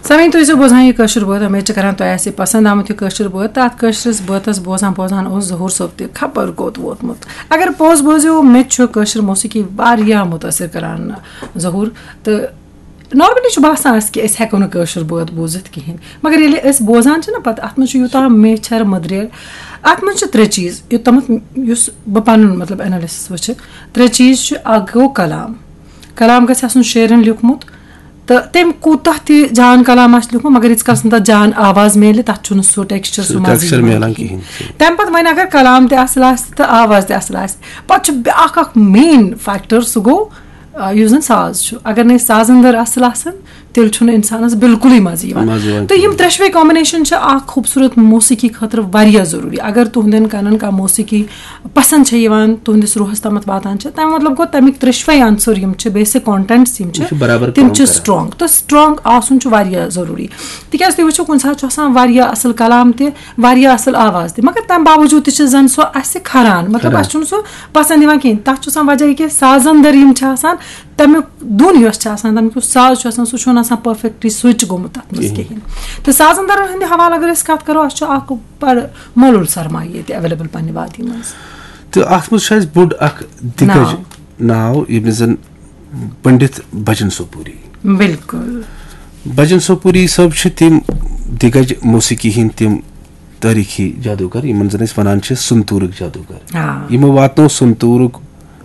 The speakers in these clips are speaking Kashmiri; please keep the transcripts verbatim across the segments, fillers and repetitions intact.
سامعیٖن، تُہۍ ٲسِو بوزان یہِ کٲشُر بٲتھ، اُمید چھِ کران تۄہہِ آسہِ پسنٛد آمُت یہِ کٲشُر بٲتھ۔ تہٕ اَتھ کٲشرِس بٲتَس بوزان بوزان اوس ظہوٗر صٲب تہِ خبر کوٚت ووتمُت۔ اگر پوٚز بوزِو، مےٚ تہِ چھُ کٲشِر موسیقی واریاہ مُتٲثِر کران، ظہوٗر۔ تہٕ normally چھُ باسان اَسہِ کہِ أسۍ ہٮ۪کو نہٕ کٲشُر بٲتھ بوٗزِتھ کِہیٖنۍ، مگر ییٚلہِ أسۍ بوزان چھِ نہ، پَتہٕ اَتھ منٛز چھُ یوٗتاہ میچھَر مٔدریر، اَتھ منٛز چھِ ترٛےٚ چیٖز، یوٚتامَتھ یُس بہٕ پَنُن مطلب analysis وٕچھِ، ترٛےٚ چیٖز چھِ۔ اَکھ گوٚو کلام، کلام گژھِ آسُن شٲعرَن لیوٗکھمُت، تہٕ تٔمۍ کوٗتاہ تہِ جان کلام آسہِ لیوٗکھمُت، مگر ییٖتِس کالَس نہٕ تَتھ جان آواز میلہِ، تَتھ چھُنہٕ سُہ texture، سُہ سُہ مَزٕ texture یِوان میلان کِہیٖنۍ۔ کِہیٖنۍ۔ تَمہِ پَتہٕ وۄنۍ اگر کلام تہِ اَصٕل آسہِ تہٕ آواز تہِ اَصٕل آسہِ، پَتہٕ چھُ بیٛاکھ اَکھ main factor، سُہ گوٚو، آ، یُس زَن ساز چھُ۔ اگر نہٕ أسۍ سازَن دَر اَصٕل آسَن، تیٚلہِ چھُنہٕ اِنسانَس بِلکُلٕے مَزٕ یِوان۔ مَزٕ یِوان تہٕ یِم کِہیٖنۍ۔ ترٛٮ۪شوَے combination چھِ اَکھ خوٗبصوٗرت موسیقی خٲطرٕ واریاہ ضروٗری۔ اگر تُہنٛدٮ۪ن کَنَن کانٛہہ موسیقی پسنٛد چھےٚ یِوان، تُہنٛدِس روحس تامَتھ واتان چھےٚ، تَمیُک مطلب گوٚو، تَمیُک ترٛٮ۪شوَے عنصر یِم چھِ، basic contents یِم چھِ، یہِ چھُ برابر تِم کٲم چھِ کران۔ Strong۔ تہٕ strong آسُن چھُ واریاہ ضروٗری۔ تِکیازِ تُہۍ وٕچھِو، کُنہِ ساتہٕ چھُ آسان واریاہ اَصٕل کلام تہِ، واریاہ اَصٕل آواز تہِ، مگر تَمہِ باوجوٗد تہِ چھِ زَن سُہ اَسہِ کھران، مطلب، کھران۔ اَسہِ چھُنہٕ سُہ پسنٛد یِوان کِہیٖنۍ۔ تَتھ چھُ آسان وجہ یہِ کہِ سازَن دَر یِم چھِ آسان، تَمیُک دُن یۄس چھِ آسان، تَمیُک یُس ساز چھُ آسان، سُہ چھُنہٕ آسان perfectly switch گوٚمُت تَتھ منٛز کِہیٖنۍ۔ کِہیٖنۍ۔ تہٕ سازَن دَرَن ہٕنٛدِ حوالہٕ اگر أسۍ کَتھ کَرو، اَسہِ چھُ اَکھ بَڑٕ مۄلُل سرمایہِ ییٚتہِ available پننہِ وادی منٛز۔ تہٕ اَتھ منٛز چھُ اَسہِ بوٚڑ اَکھ دِگَج ناو۔ ناو، ییٚمِس زَن پنڈت بھجن سوپوری۔ بِلکُل۔ بھجن سوپوری صٲب چھِ تِم دِگَج موسیقی ہٕنٛدۍ تِم تٲریٖخی جادوگر، یِمَن زَن أسۍ وَنان چھِ سنتوٗرٕکۍ جادوگر۔ آ۔ یِمو واتنوو سنتوٗرُک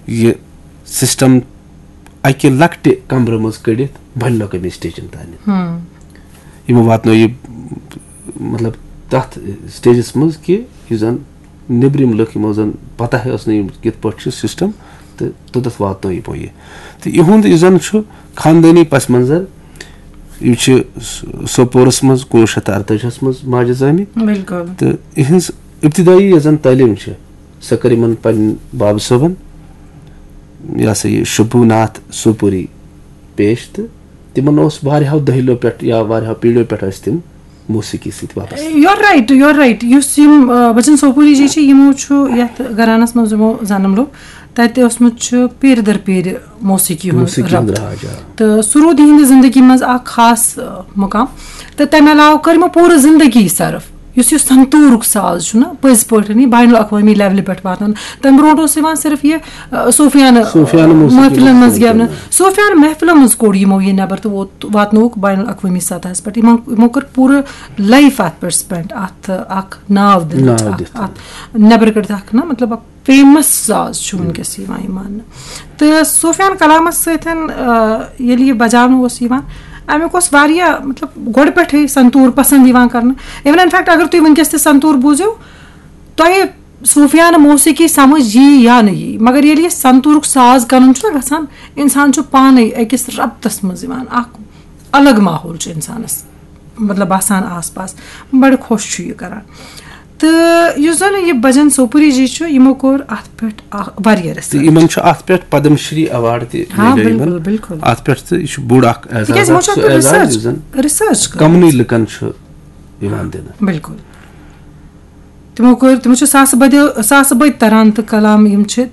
یہِ system اَکہِ لۄکٹہِ کمرٕ منٛز کٔڑِتھ بین الاقوٲمی stageن تانٮ۪تھ۔ ہم۔ یِمو واتنوو یہِ، مطلب، تَتھ stageس منٛز کہِ یُس زَن نیٚبرِم لُکھ، یِمو زَن پتہ ٲس نہٕ یِم کِتھ پٲٹھۍ چھُ system، تہٕ توٚتَتھ واتنوو یِمو یہِ۔ تہٕ یِہُنٛد یُس زَن چھُ خاندٲنی پس منظر، یِم چھِ س-، سوپورَس منٛز کُنوُہ شیٚتھ تہٕ اَرتٲجِہَس منٛز ماجہِ زامٕتۍ۔ بِلکُل۔ تہٕ یِہٕنٛز ابتدٲیی یۄس زَن تعلیٖم چھِ، سۄ کٔر یِمَن پنٕنۍ بابہٕ صٲبَن، یہِ ہسا یہِ شبھو ناتھ سوپوری پیش، تہٕ تِمَن اوس واریاہو دٔہلِیو پٮ۪ٹھ یا واریاہو پیٖڑیو پٮ۪ٹھ ٲسۍ تِم موسیقی سۭتۍ وابستہٕ۔ You are right, you are right۔ یُس یِم، آ، بچن سوپوری جی چھِ، یِمو چھُ یَتھ گھرانَس منٛز یِمو جنم لوٚب، تَتہِ اوسمُت چھُ پیٖرِ در پیٖرِ موسیقی ہُنٛد موسیقی ہُنٛد ربط۔ راج، آ۔ تہٕ سُہ روٗد یِہِنٛدِ زِندگی منٛز اَکھ خاص، آ، مُقام۔ تہٕ تَمہِ علاوٕ کٔر یِمو پوٗرٕ زِندگی صرف۔ یُس یہِ سنتوٗرُک ساز چھُ نہ، پٔزۍ پٲٹھۍ یہِ بین الاقوٲمی levelہِ پٮ۪ٹھ واتان۔ تَمہِ برونٛٹھ اوس یِوان صرف یہِ، آ، صوٗفیانہٕ، صوٗفیانہٕ موسیقی محفلن منٛز منٛز گٮ۪ونہٕ۔ گٮ۪ونہٕ۔ صوٗفیانہٕ محفلن منٛز کوٚڑ یِمو یہِ نٮ۪بر تہٕ ووت، واتنووُکھ بین الاقوٲمی سطحس پٮ۪ٹھ۔ یِمو، یِمو کٔر پوٗرٕ life اَتھ پٮ۪ٹھ spend، اَتھ اَکھ ناو دِنہٕ، ناو اَتھ، دِتھ۔ اَتھ نٮ۪بر کٔڑِتھ اَکھ نہ، مطلب، اَکھ famous ساز چھُ وٕنکیٚس یِوان یہِ ماننہٕ۔ تہٕ صوٗفیانہٕ کلامس سۭتۍ، آ، ییٚلہِ یہِ بجاونہٕ اوس یِوان، اَمیُک اوس واریاہ، مطلب، گۄڈٕ پٮ۪ٹھٕے سنتوٗر پسنٛد یِوان کرنہٕ۔ Even in fact، اگر تُہۍ وٕنکیٚس تہِ سنتوٗر بوٗزِو، تۄہہِ صوٗفیانہٕ موسیقی سمجھ یی یا نہٕ یی، مگر ییٚلہِ یہِ سنتوٗرُک ساز کرُن چھُ نہ گژھان، انسان چھُ پانے أکِس ربطس منٛز یِوان، اکھ الگ ماحول چھُ انسانس، مطلب، باسان آس پاس، بڑٕ خۄش چھُ یہِ کران۔ تہٕ یُس زن یہِ بھجن سوپوری جی چھُ، یِمو کوٚر اتھ پٮ۪ٹھ اکھ واریاہ تہٕ research۔ یِمن چھُ اتھ پٮ۪ٹھ پدم شری award تہِ ہاں، میلیو یِمن۔ بِلکُل، بِلکُل۔ اتھ پٮ۪ٹھ تہٕ یہِ چھُ بوٚڑ اکھ اعزاز، تِکیازِ یِمو اکھ چھُ سُہ اتھ پٮ۪ٹھ اعزاز research، یُس زن research کٔرمٕژ۔ کمنٕے لُکن چھُ یِوان دِنہٕ۔ بِلکُل۔ تِمو کٔر، تِمو چھِ ساسہٕ بٔدیو، ساسہٕ بٔدۍ تران تہٕ کلام یِم چھِ،